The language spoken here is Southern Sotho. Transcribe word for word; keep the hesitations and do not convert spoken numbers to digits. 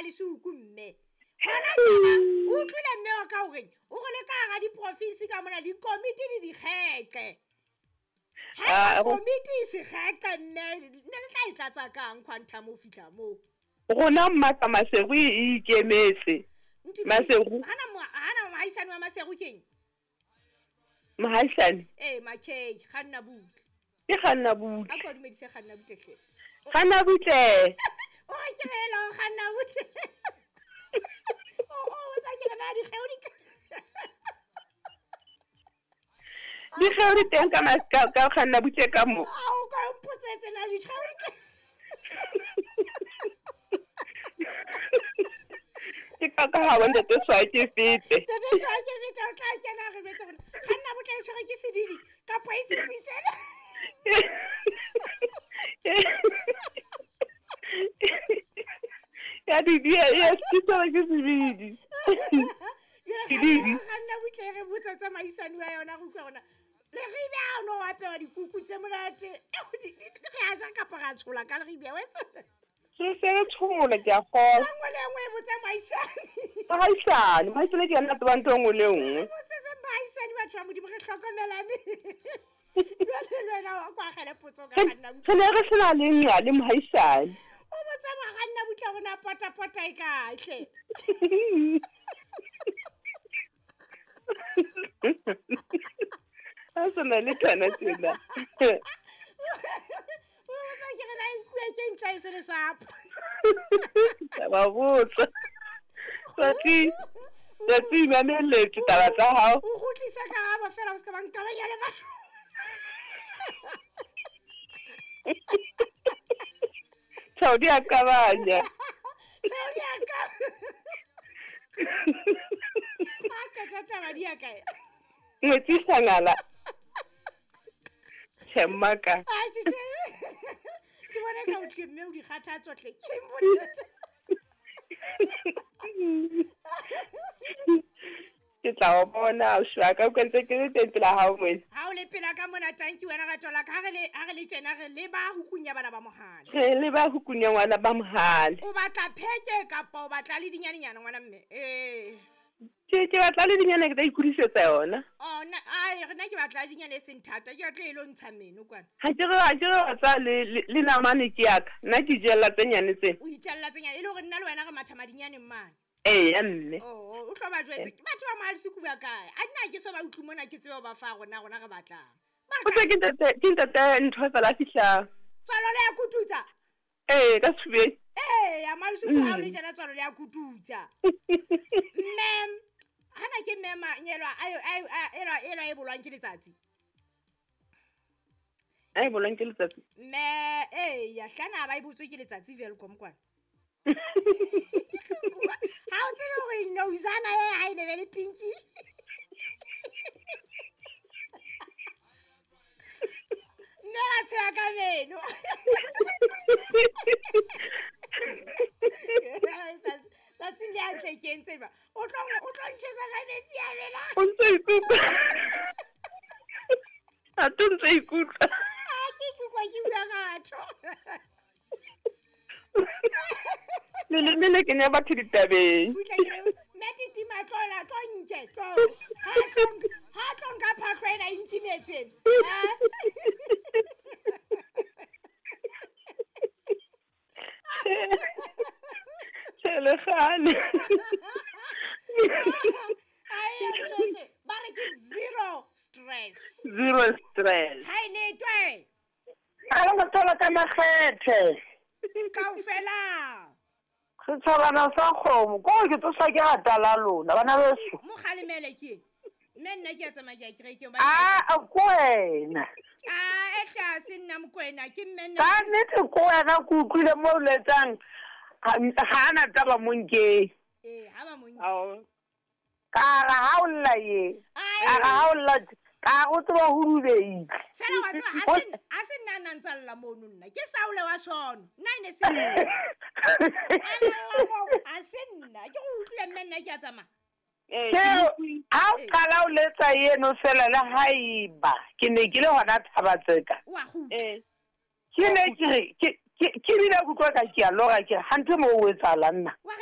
mohalesuku mme gona tjena o utlwile mme wa ka horeng o re le ka hara diprofinsi ka mona dikomiti di dikgeqe ha komiti e se kgeqe mme ne le tla e tlatsa kang quantum o fihla moo rona mmaka Maseru e ikemetse Maseru hana hana mohaisane wa Maseru keng mohaisane eh makei kganna butle ke kganna butle a ko dumedise kganna butle hle kganna butle o re ke rela o kganna butle o o tsa ke rena dikgeo di dikgeo di teng ka maska ka kganna butle ka mo a o ka mpotsetse na dikgeo di ke ka ka ha wena te swa ke fete te swa ke fete o tla kena re betse gore kganna butle e tshwere ke sedidi kapa e tsitsitse ya di di ya tsitsela ke sedidi sedidi kganna butle re botsa tsamaisane wa yona go utlwa gona le ribe a no apewa dikuku tse monate re a ja kapa ra tshola ka le ribe wetse se se re tshola ke a gola nngwe le nngwe e botsa mohaisane mohaisane mohaisane ke yena tsebang ntho nngwe le nngwe botsetse mohaisane batho ba modimo re hlokomelane jwale le wena o kwa agele potso ka kganna butle re ne re sena le nqa le mohaisane o botsa moganna butle gona potapota e kahle a sena le tsena tsena o botsa ke re na nkuwe ke ntja e se le sapo ba botsa tsatsi tsatsi mameletse taba tsa hao o kgutlisa karabo fela o se ka ba nkabanya le batho Tshao di a kabanya tshao di a ka a ka taba di a kae ngwetsisa ngala Tshemaka a tje ke bona ka o tle mme o di kgathatso tle ke mbonete ke tla o bona o shwa ka o ntse ke le teng pela hao moe ha o le pela ka mona tanki wena ka tswala ka re le ha re le tjena re le ba hukunya bana ba mohale re le ba hukunya ngwana ba mohale o batla pheke kapa o batla le dinyanenyana ngwana mme eh ke ke batla le dinyane ke tla ikhudisetsa yona oh na ai re nna ke batla dinyane e seng thata ke batla e lo ntsha meno kwana ha ke re ha ke re batla le le namane ke yaka nna ke jella tse nyane tse o itjella tse nyane e le hore nna le wena re matha madinyaneng mane ee ya mme oh o tlo ba jwetse batho ba mohale suku ba kae a nna ke so ba utlwe mona ke tsebe ba fa rona rona re batlang o tse ke ntate ke ntate ntho fela fihla tswalo le ya kututsa ee ka sefubeng ee ya mohale suku ha o le tjena tswalo le ya kututsa mme hana ke mema nyelwa ayo ayo elwa elwa e bolwang ke letsatsi ai bolwang ke letsatsi mme ee ya hlana ba e botswe ke letsatsi Welkom kwana ha o tsebe hore nozana e ha e ne be le pinki mme ra tsheha ka meno tsatsi le a tle ke ntse ba o tlo o tlo ntjhesa ka metsi a bela o ntse ikutlwa a to ntse ikutlwa a ke ikutlwa ke bua batho le le le ke ne batho ditabeng mme titima tlola tlo nke tlo ha tlo ha tlo nka phahlo ena e nkimetseng Tshele gale ai tjhe ba re ke zero stress zero stress ha ile twe a lo thola ka makgethe kaofela setjhabana sa kgomo ko ke tsosa ke rata la lona bana beso mo kgalemele ke mme nna ke a tsamaya ke a kerekeng a ko wena a e tlase nna Mokwena ke mme nna ka nnete ko wena ke utlwile mo o letsang ga ana taba mo nkeng ee ha ba mo nke ka ra ha o lla ye ka ra ha o lla ka go tseba ho rubeile fela wa tseba ha se ha se nna nna ntsa lla mono nna ke Saule wa sono nna ene se nna a se nna ke go utlwile mme nna ke a tsamaya ha o qala o letsa eno fela le haeba ke ne ke le hona Thabatseka wa kgutla ke ne ke re ke ke bile kutlwa ka ke a lora ke hanthe mo o etsahala nna.